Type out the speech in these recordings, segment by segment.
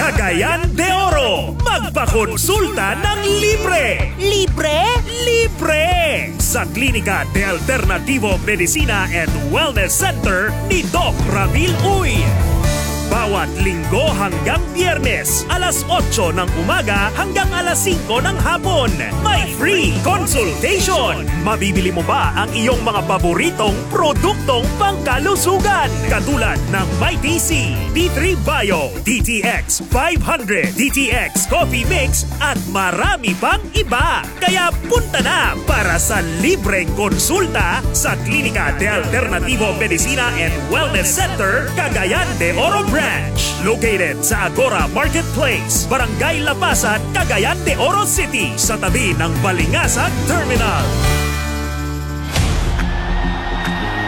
Cagayan de Oro. Magpakonsulta ng libre. Libre? Libre! Sa Klinika de Alternativo Medicina and Wellness Center ni Doc Ramil Uy. Bawat Linggo hanggang Biyernes, alas 8 ng umaga hanggang alas 5 ng hapon. May free consultation! Mabibili mo ba ang iyong mga paboritong produktong pangkalusugan? Katulad ng Mighty C, D3 Bio, DTX 500, DTX Coffee Mix at marami pang iba. Kaya punta na para sa libreng konsulta sa Klinika de Alternativo Medicina and Wellness Center, Cagayan de Oro Branch. Located sa Agora Marketplace, Barangay Lapasan, Cagayan de Oro City, sa tabi ng Balingasag Terminal.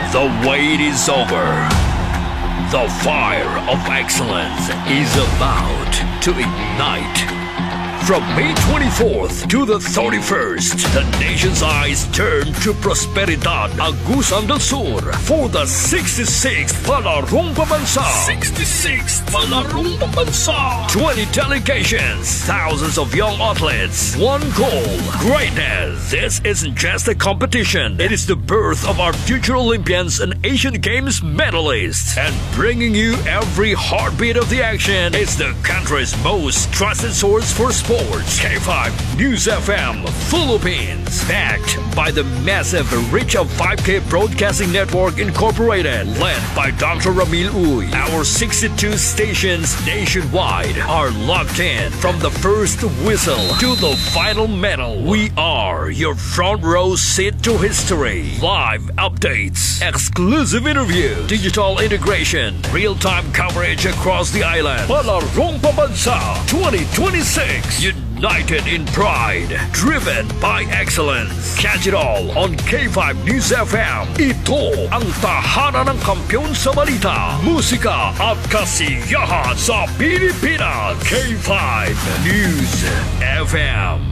The wait is over. The fire of excellence is about to ignite. From May 24th to the 31st, the nation's eyes turn to Prosperidad, Agusan del Sur for the 66th Palarong Pambansa. 66th Palarong Pambansa. 20 delegations, thousands of young athletes, one goal, greatness. This isn't just a competition. It is the birth of our future Olympians and Asian Games medalists. And bringing you every heartbeat of the action is the country's most trusted source for sports. K5 News FM Philippines. Backed by the massive reach of 5K Broadcasting Network Incorporated. Led by Dr. Ramil Uy. Our 62 stations nationwide are locked in from the first whistle to the final medal. We are your front row seat to history. Live updates, exclusive interview, digital integration, real-time coverage across the island. Palarong Pambansa 2026. United in pride, driven by excellence. Catch it all on K5 News FM. Ito ang tahanan ng kampiyon sa balita, musika at kasiyahan sa Pilipinas. K5 News FM.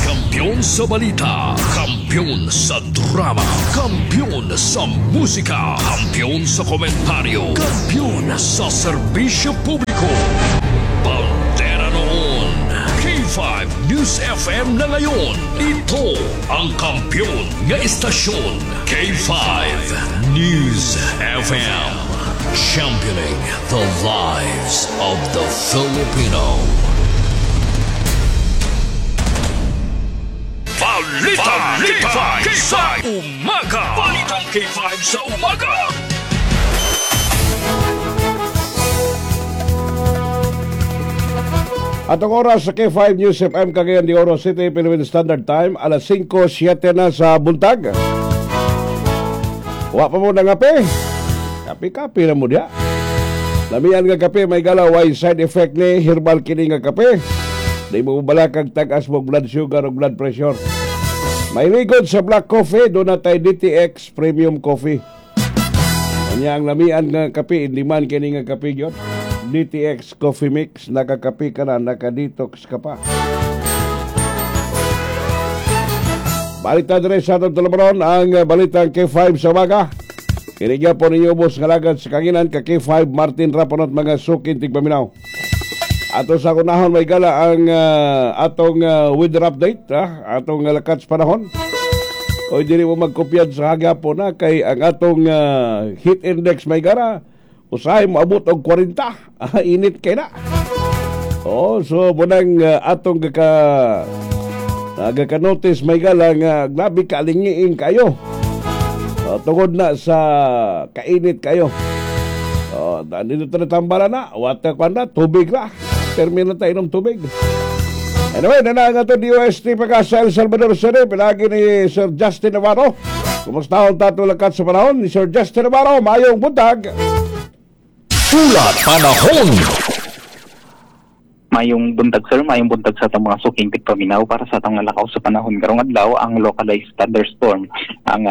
Kampiyon sa balita, kampiyon sa drama, kampiyon sa musika, kampiyon sa komentaryo, kampiyon sa serbisyo publiko. Bandera noon, K5 News FM na ngayon. Ito ang kampiyon nga istasyon. K5 News FM. Championing the lives of the Filipino. Balitang K5 sa umaga. Balitang K5 sa umaga. At ang oras sa K5 News FM Cagayan de Oro City, Philippine Standard Time, alas 5:07 na sa buntag. Wa pa mo na ngape. Kape-kape na mo diya. Lamian nga kape, may galaw, way side effect ni herbal kini nga kape. Di mo balakag tag-as mo blood sugar o blood pressure. May ligod sa black coffee, doon na tayo DTX Premium Coffee. Kanya ang lamian nga kape, hindi man kini nga kape yun. DTX Coffee Mix, nakakape ka na, nakadetox ka pa. Balita dire sa atong tulumaron, ang balitang K5 sa umaga. Kinigya po ninyo ubos nga lagad sa kanginan ka K5 Martin Raponot mga sukin tigpaminaw. Ato sa kunahon may gala ang atong weather update, atong lakat sa panahon. O dili mo magkopyad sa hagapon na kay ang atong heat index may gara usahay moabot og 40. Init kay na. Oh, so bunang atong gaka notice may gala nga grabe kalingiing kayo. Tungod na sa kainit kayo. Dito na tambala na, wata pa na, tubig na. Terminal tayo inom tubig. Anyway, nanang ato DOST Pag-asa El Salvador City, pinagi ni Sir Justin Navarro. Kumusta ang tatulakat sa panahon ni Sir Justin Navarro? Mayong buntag! Ulat Panahon. Mayong buntag, sir, mayong buntag sa atong mga suking tigpaminaw. Para sa atong lakaw sa panahon karong adlaw, ang localized thunderstorm ang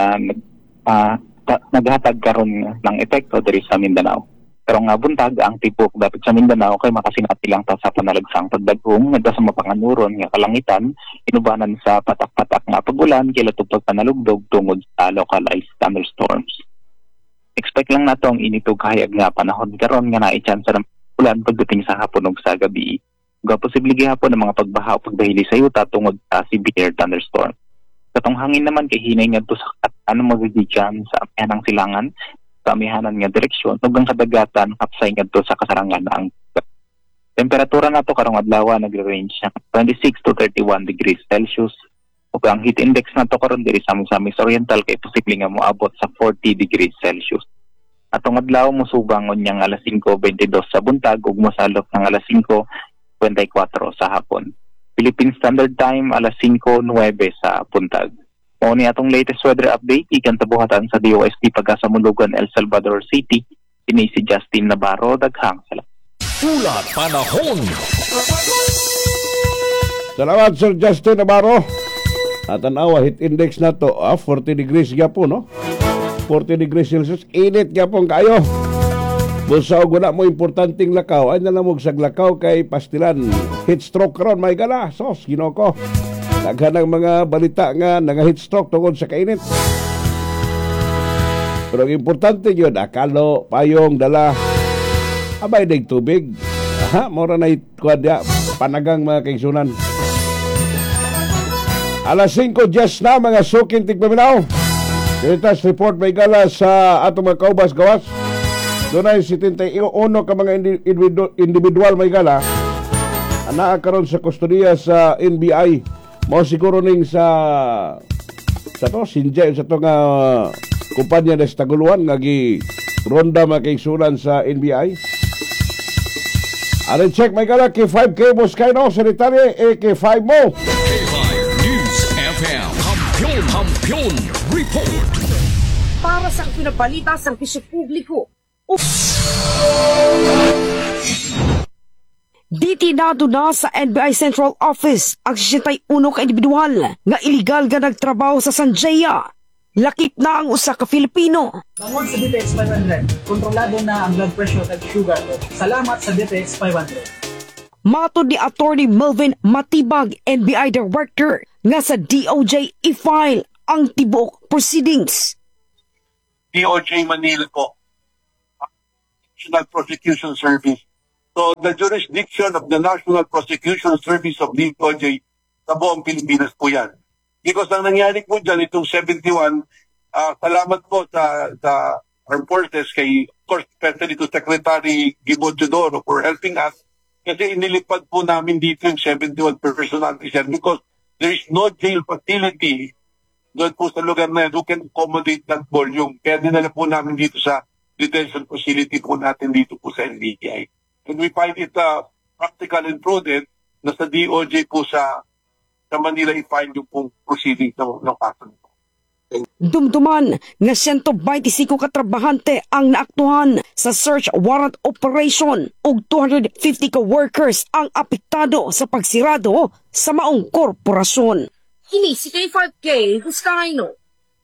naghatag karon ng epekto diri sa Mindanao. Karong nga buntag, ang tibok dapit sa Mindanao kay makasinati lang ta sa panalagsang pagdaghom ngadto sa mapanganuron nga kalangitan inubanan sa patak-patak nga pagulan kilatog pagpanalugdog tungod sa localized thunderstorms. Expect lang nato ang init ug kahayag nga panahon karon nga naay chance ng ulan pagdating sa hapon ug sa gabi. Ug posible gihapon ang mga pagbaha o pagdahili sa yuta tungod sa severe thunderstorm. Katong hangin naman kay hinay ngadto sa ano magigikan sa amihanang silangan sa amihanan nga direksyon ug ang kadagatan hapsay ngadto sa kasarangan ang temperatura nato karong adlaw nagre-range sa 26 to 31 degrees Celsius ug ang heat index nato karon diri sa Misamis Oriental kay posible nga moabot sa 40 degrees Celsius. Atong adlaw mosubang unyang alas 5:22 sa buntag ug mosalop ng alas 5:54 sa hapon. Philippine Standard Time, alas 5:09 sa buntag. Mao ni atong latest weather update gikan sa buhatan sa DOST Pagasa Mulugan, El Salvador City. Kini si Justin Navarro, daghang salamat. Ulat Panahon. Salamat, Sir Justin Navarro. At tanawa, heat index na to, 40 degrees gyapon, no? 40 degrees Celsius, init gyapon kayo. Busa og wala mo importanteng lakaw, ay nalamog sa lakaw kay pastilan. Heat stroke karon may gala, sos, Ginoo ko. Daghan ang mga balita nga nga heat stroke tungod sa kainit. Pero ang importante yun, akalo, payong, dala, abay dig tubig. Aha, mora na kuwan panagang mga kaigsunan. Alas 5:10 na, mga suking tigpaminaw. Latest report may gala sa atong mga kaubas gawas. Dunay 71 ka mga individual may gala anaa karon sa kustodiya sa NBI. Mao siguro ning sa to Sinjay sa to nga kumpanya des Taguluan nga gi ronda mga kaigsunan sa NBI. Aron check may gala K5K Boscaino Sanitary AK5 mo. K5 News FM. Kampiyon, Kampiyon Report. Para sa pinabalita sa serbisyo publiko. Ditinado na sa NBI Central Office ang 61 ka individual nga iligal nga nagtrabaho sa Sanjaya. Lakip na ang usa ka Filipino. Tungod sa DTX 500, kontrolado na ang blood pressure at sugar ko. Salamat sa DTX 500. Matod ni Attorney Melvin Matibag, NBI Director, nga sa DOJ i-file ang tibuok proceedings. DOJ Manila po, National Prosecution Service. So the jurisdiction of the National Prosecution Service of DOJ sa buong Pilipinas po yan. Because ang nangyari po dyan, itong 71, salamat po sa Armed Forces, kay, of course, especially to Secretary Gibo Teodoro for helping us. Kasi inilipad po namin dito yung 71 personal officer because there is no jail facility doon po sa lugar na yan who can accommodate that volume. Kaya dinala po namin dito sa detention facility po natin dito po sa NBI. And we find it practical and prudent na sa DOJ po sa Manila i-file yung pong proceedings ng kaso nito. Dumduman nga 125 ka trabahante ang naaktuhan sa search warrant operation ug 250 ka workers ang apektado sa pagsirado sa maong korporasyon. Kini si K5K Vizcaino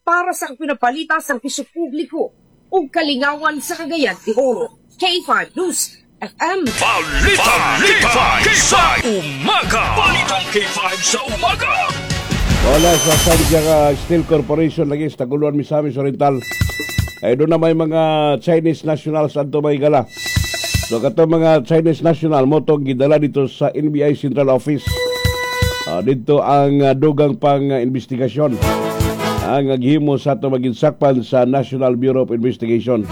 para sa pinabalita sa serbisyo publiko ug kalingawan sa Cagayan de Oro. K5 News FM. Balita K5 sa umaga. Balitang K5 sa umaga. Wala sa Santiago Steel Corporation lagi sa Taguluan, Misamis Oriental. Ay doon na may mga Chinese nationals adto may gala. So katong mga Chinese national mo tong gidala dito sa NBI Central Office. Dito ang dugang pang investigasyon ang gihimo sa ato maginsakpan sa National Bureau of Investigation.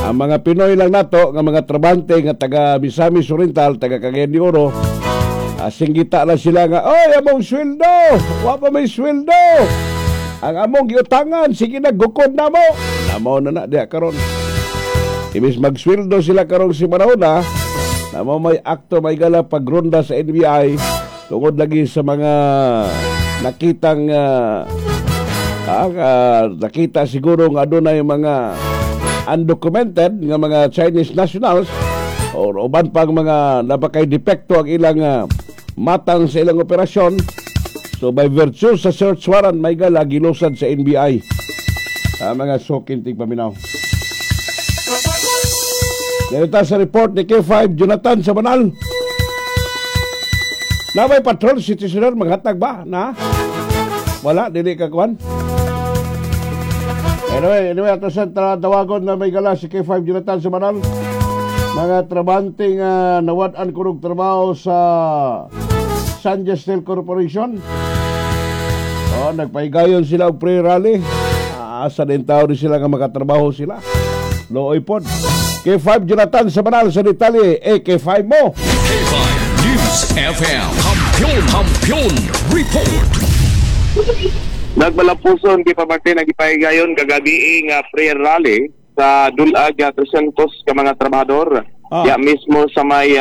Ang mga Pinoy lang nato nga mga trabante nga taga Misamis Oriental, taga Cagayan de Oro, singgita lang sila nga, "Oy, among sweldo! Wa pa may sweldo! Ang among giutangan, sige na, gukod na mo!" Namaw na na, diya karon. Ibis magsweldo sila karong si Manauna, namaw may akto may gala pagronda sa NBI tungod lagi sa mga nakitang nakita siguro nga adunay mga undocumented nga mga Chinese nationals or uban pang mga napakay depekto ang ilang matang sa ilang operasyon. So by virtue sa search warrant may gala gilusad sa NBI. Mga suking tigpaminaw. Ganito sa report ni K5 Jonathan Sabanal. Na may patrol citizener maghatag ba? Na? Wala, dili ka kuan. Anyway, ato sa tawagon na may gala si K5 Jonathan Sabanal. Mga trabante nga nawad-an kunog trabaho sa San Steel Corporation. Oh, nagpahigayon sila og pre-rally. Asa din tao rin sila nga makatrabaho sila. Looy pod. K5 Jonathan sa Banal sa detalye. Eh, K5 mo. K5 News FM. Kampiyon, Kampiyon Report. Nagmalampuson kay Pamartin nagipahigayon kagabi nga prayer rally sa Dulag 300 ka mga trabahador. Ya mismo sa may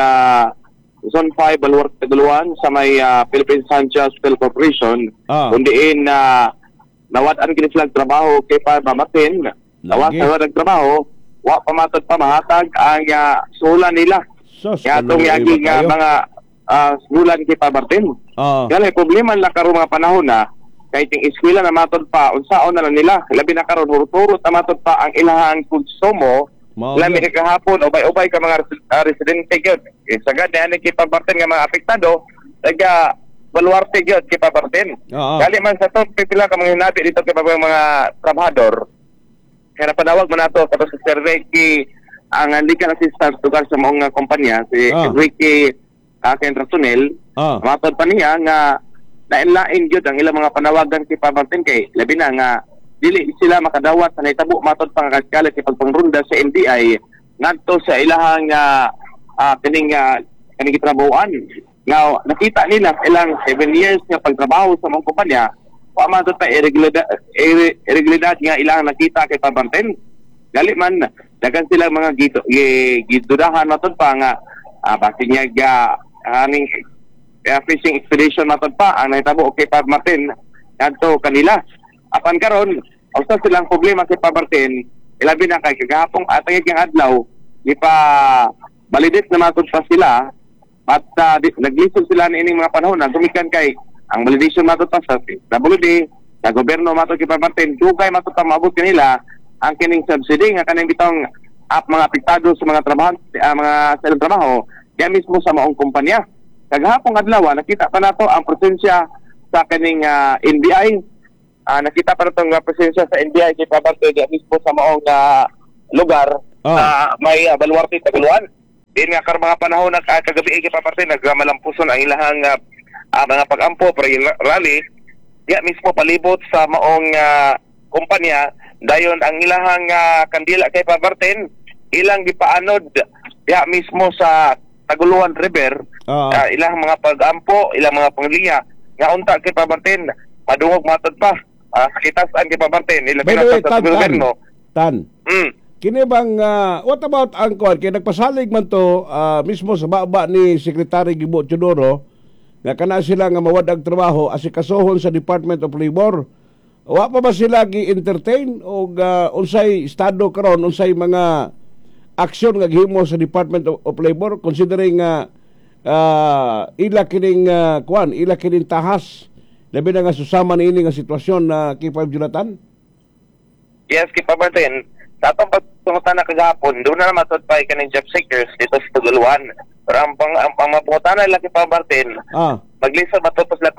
Zone 5 Baluarte Taguluan sa may Philippine Sanchez Steel Corporation kung diin na nawad-an kini sila trabaho kay pa Martin. Nawa sa trabaho, wa pa matod pa mahatag ang sulan nila. Sos, Kaya atong yagi nga mga sulan kay pa Martin. Kaya problema lang karon mga panahon na kahit yung eskwela na matod pa, unsaon na lang nila. Labi na karon hurot-hurot na matod pa ang ilahang konsumo. Lami ka kahapon, ubay-ubay ka mga residente gyud. Eh, sagad na ani kay Pabarten nga mga apektado, taga Baluarte gyud kay Pabarten. Gali man sa to, pipila ka mga hinabi dito kay mga trabahador. Kaya napanawag man nato kato sa Sir Ricky, ang legal assistant lugar sa maong kumpanya, si Ricky Kendrasunel. Matod pa niya nga lain-lain gyud ang ilang mga panawagan kay Pabarten kay labi na nga dili sila makadawat sa nahitabo matod pa nga kalit kay pagpangrunda sa NBI ngadto sa ilahang kining kaning gitrabahoan. Now nakita nila sa ilang 7 years nga pagtrabaho sa mga kumpanya, wa man ta irregularidad nga ilang nakita kay Pabarten. Gali man daghan sila mga gidudahan matod pa nga basin niya ga aning fishing expedition matod pa ang nahitabo kay Pabarten ngadto kanila. Apan karon usa silang problema kay Pabarten, ilabi na kay kagahapong atayag ng adlaw gipa validate na matod pa sila at naglisod sila niining mga panahon na gumikan kay ang validation matod pa sa WD sa gobyerno matod kay Pabarten, dugay matod pa maabot kanila ang kining subsidy nga kaning bitong ap mga apektado sa mga trabaho mga sa ilang trabaho diya mismo sa maong kumpanya. Kagahapong adlaw nakita pa nato ang presensya sa kining NBI. Nakita pa natong presensya sa NBI kay Pabarten diya mismo sa maong lugar sa may Baluarte Taguluan. Din nga karon mga panahon na kagabi kay Pabarten nagmalampuson ang ilahang mga pag-ampo para rally diya mismo palibot sa maong kumpanya. Dayon ang ilahang kandila kay Pabarten ilang gipaanod diya mismo sa Taguluan River. Ilang mga pag-ampo, ilang mga pangliya nga unta kay Pabarten madungog matod pa. Kitasan kay Pabarten ilang By the way, sa gobyerno. Tan. Kini bang what about ang kuan kay nagpasalig man to mismo sa baba ni Secretary Gibo Teodoro nga kana sila nga mawad-ag trabaho asikasuhon sa Department of Labor. Wa pa ba sila gi-entertain og unsay estado karon, unsay mga aksyon nga gihimo sa Department of Labor considering nga ila kining kuan, ila kining tahas labi na nga susama niini nga sitwasyon na K5 Jonathan? Yes, kay Pabarten. Sa atong pagpangutana kagahapon, doon na naman pa kaning job seekers dito sa Taguluan. Pero ang pangutana nila kay Pabarten, maglisod matod pa sila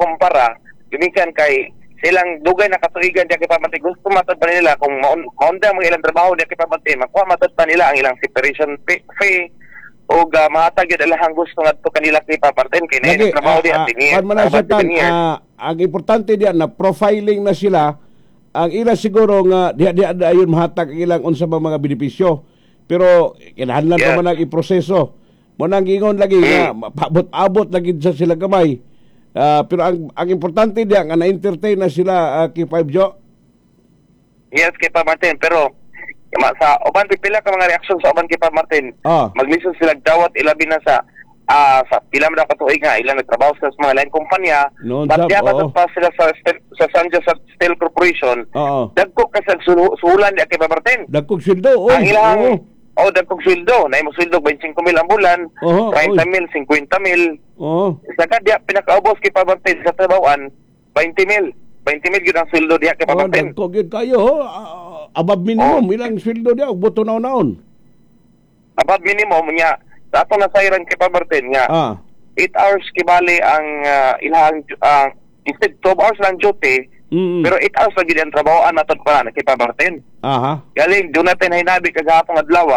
kumpara, gumikan kay silang dugay na katuigan diya kay Pabarten. Gusto matod pa nila kung maunda ang mga ilang trabaho diya kay Pabarten, makuha matod pa nila ang ilang separation fee o mahatag yun alahang gusto ngadto kanila kay Pabarten kay na trabaho diya ang importante diya na profiling na sila ang ila siguro nga diha diha ayon mahatag ang ilang unsa ba mga benepisyo pero kinahanglan pa man ang iproseso mo nang ingon lagi nga paabot-abot lagi sa sila gamay pero ang importante diya nga na-entertain na sila kay 5 Jo. Yes, kay Pabarten, pero sa uban pipila ka mga reaksyon sa uban kay Pabarten. Maglisod sila dawat ilabi na sa sa pila man ka tuig nga ilang nagtrabaho sila sa mga lain kumpanya. But diya pa sila sa San Jose Steel Corporation. Dagko ka sa sulan diya kay Pabarten. Dagkog sweldo. Ang ilang dagkog sweldo, na imo sweldo 25,000 ang bulan, 30,000, 50,000. Saka diya pinakaubos kay Pabarten sa trabahoan 20,000. 20,000 gyud ang sweldo diya kay Pabarten. Dagko gyud kayo. Above minimum ilang sweldo diya og buto naon-naon. Above minimum nya sa atong nasayran kay Pabarten nga 8 hours kibali ang ilang instead 12 hours lang duty, pero 8 hours lagi ang trabahoan naton pa na kay Pabarten. Galing doon natin hinabi kagahapon adlaw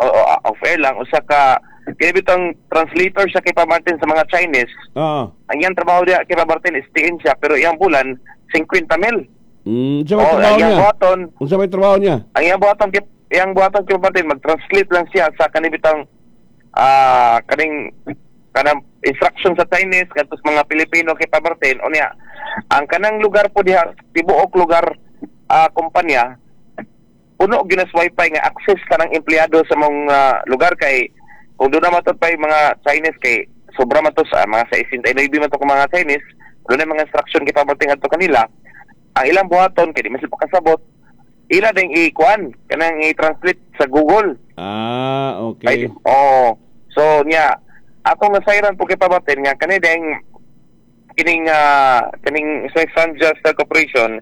o Off air lang, usa ka kini bitong translator siya kay Pa Martin sa mga Chinese. Ang iyang trabaho diya kay Pa Martin is tiin siya, pero iyang bulan 50 mil. Unsa may trabaho niya? Unsa may trabaho niya? Ang iyang buhaton kay Pa Martin, mag-translate lang siya sa kanibitang kaning kanang instruction sa Chinese kadto sa mga Pilipino kay Pa Martin. Unya ang kanang lugar po diha, tibuok lugar kumpanya puno ginas wifi nga access kanang empleyado sa mong lugar kay kung doon na matod pa yung mga Chinese kay sobra man to sa mga 69 man to mga Chinese, doon na mga instruction kay Pa Martin adto kanila. Ang ilang buhaton kay di man sila pakasabot, ila ding i-kuan kanang i-translate sa Google. Okay. Ay, oh, so niya atong nasayran po kay Pa Martin nga kani ding kining kaning sa Sanjust Corporation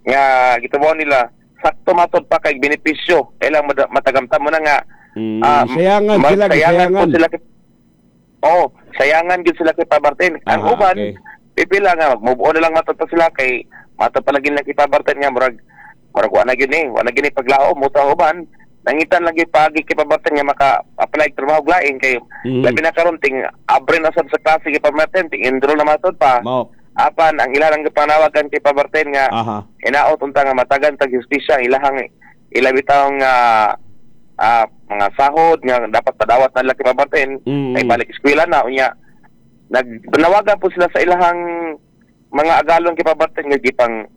nga gitubo nila sakto matod pa kay benepisyo kailang matagamtam mo na nga sayangan sila, sayangan sila. Oh, sayangan gyud sila kay Pa Martin. Ang uban pipila nga mag-move on na lang matod pa sila kay matod pa lagi na kay Pa Martin nga murag wa na gyud ni, wa na gyud ni paglao mo ta uban. Nangitan lagi pagi kay Pa Martin nga maka-apply trabaho lain kay labi na karon ting abre na sad sa klase kay Pa Martin, ting enroll na matod pa. Apan ang ilang gipanawagan kay Pa Martin nga inaot unta nga matagan tag hustisya ilahang ilabitang mga sahod nga dapat padawat na kay Pa Martin ay balik eskwela na. Unya nagpanawagan po sila sa ilahang mga agalon kay Pa Martin nga gipang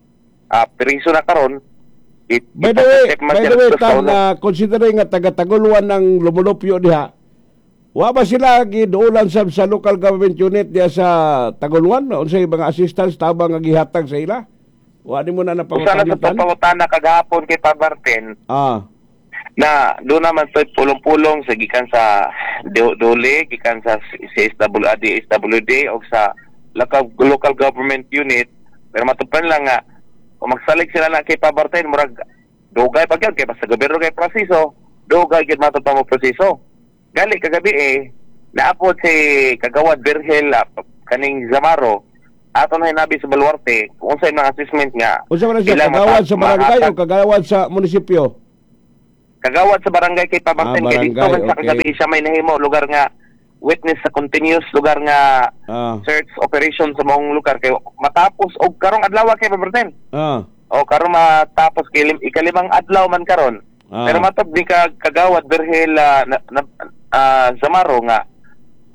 periso na karon. By the way, Tan, considering nga taga-Taguluan ng Lumulupyo diha, wa ba sila giduulan sab sa local government unit diha sa Taguluan? Unsay mga assistance tabang nga gihatag sa ila? Wa nimo na napangutana? Usa na sa pangutana kagahapon kay Pa Martin. Na doon naman to'y pulong-pulong sa gikan sa Dole, gikan sa CSWD, SWD o sa local government unit. Pero matupan lang nga kung magsalig sila na kay Pa Martin, murag dugay pa gyud kay basta gobyerno kay proseso, dugay gyud matod pa mo proseso. Gali kagabi naapod si Kagawad Birgel kaning Zamaro ato na hinabi sa Baluarte kung unsay mga assessment nga. Unsa man siya, kagawad sa barangay o kagawad sa munisipyo? Kagawad sa barangay kay Pa Martin, kay dito man sa kagabi siya may nahimo lugar nga witness sa continuous lugar nga search operation sa maong lugar kay matapos og karong adlaw kay Pa Martin. O karon matapos kay ikalimang adlaw man karon. Pero matod ni Kagawad Birgel Zamaro nga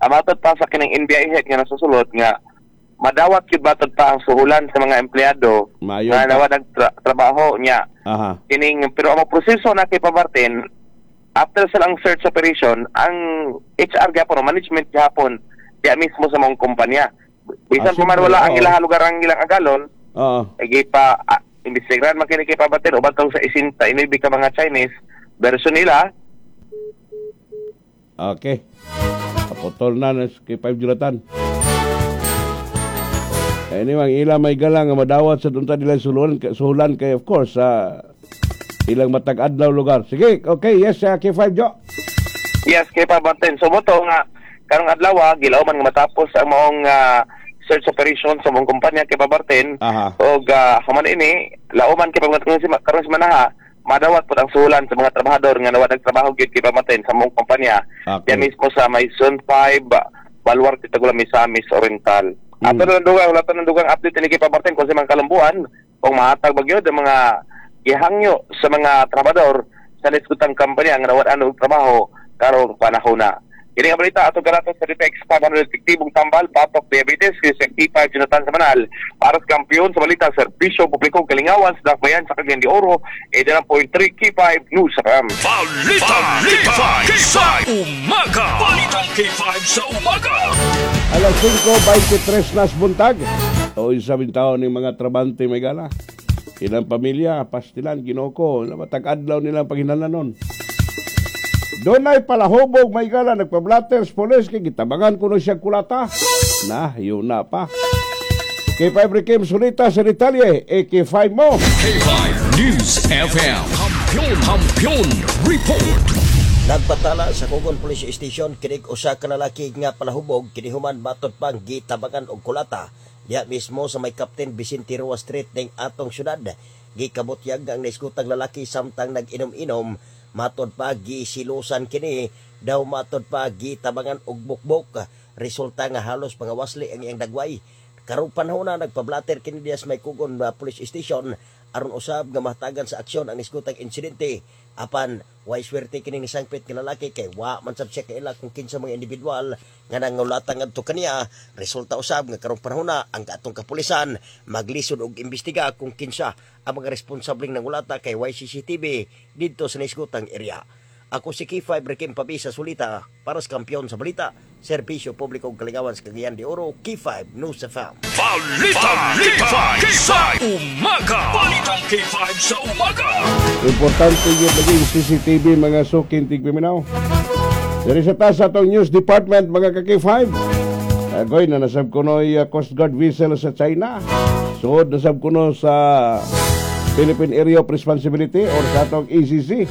matod pa sa kining NBI head nga nasusulot nga madawat gyud matod pa ang suhulan sa mga empleyado nga nawad ang trabaho niya. Kining pero ang proseso na kay Pa Martin after sa lang search operation ang HR gyapon o management gyapon diya mismo sa mga kumpanya. Bisan pa man wala ang ilang lugar ang ilang agalon. Ay pa imbestigahan man kini kay Pa Martin uban tong sa 69 ka mga Chinese version nila. Okay. Kaputol na kay 5 Jonathan. Anyway, ang ila may galang nga madawat sa dunta nila suhulan kay of course sa ilang matag adlaw lugar. Sige, okay, yes, K5 Jo. Yes, kay Pa Martin. So mo to nga karong adlaw gilaw man nga matapos ang maong search operation sa maong kumpanya kay Pa Martin. Og human ini lauman kay Pa Martin karon si manaha madawat po ang suhulan sa mga trabahador nga nawad nagtrabaho gyud kay Pa Martin sa maong kumpanya. Okay. Diya mismo sa may Zone 5, Baluarte, Tagula, Misamis Oriental. Ato na dugang, wala pa ng dugang update ni kay Pa Martin kung sa mga kalambuan kung mahatag ba gyud ang mga gihangyo sa mga trabador sa liskutang kumpanya nga nawad ano og trabaho karong panahon na. Kini nga balita ato garato sa DTX 500 epektibong tambal patok diabetes kay K5 Jonathan Samanal para sa kampiyon sa balita serbisyo publiko kalingawan sa Dakbayan sa Cagayan de Oro 89.3 K5 News FM. Balita K5 sa umaga. Balita K5 sa umaga. Alas 5:23 nas buntag. O isabing taon ng mga trabante may gala. Ilang pamilya, pastilan, ginoko, matag-adlaw nilang paghinalanon. Doon ay palahubog, may gala, nagpa-blatters, polis, kay gitabangan ko na siya kulata. Na, yun na pa. K5 Rekim Solita sa detalye, AK5 mo. K5 News FM. Kampiyon, Kampiyon Report. Nagpatala sa Kugon Police Station kinig usa ka lalaki nga palahubog kini human matod pang gitabangan og kulata diha mismo sa may Captain Vicente Roa Street ning atong syudad. Gikabutyag ang naiskutang lalaki samtang nag-inom-inom Matod pa gisilusan kini, daw matod pa gitabangan og bukbok. Resulta nga halos pangawasli ang iyang dagway. Karong panahon na nagpablater kini diya sa may Kugon Police Station aron usab nga mahatagan sa aksyon ang nisgutang insidente. Apan way swerte kini ni sangpit nga lalaki kay wa man sab siya kaila kung kinsa mga individual nga nangulata ngadto kaniya. Resulta usab nga karong panahon na ang atong kapulisan maglisod og imbestiga kung kinsa ang mga responsableng nangulata kay way CCTV didto sa nisgutang area. Ako si K5 Rekim Pabisa Sulita para sa kampiyon sa balita, serbisyo publiko ug kalingawan sa Cagayan de Oro, K5 News FM. Balita K5 sa umaga. Balitang K5 sa umaga. Importante yun lagi yung CCTV, mga suking tigpiminaw. Diri sa taas atong news department, mga ka-K5. Agoy na nasab kuno Coast Guard vessel sa China. Suod nasab kuno sa Philippine Area of Responsibility or sa atong ACC.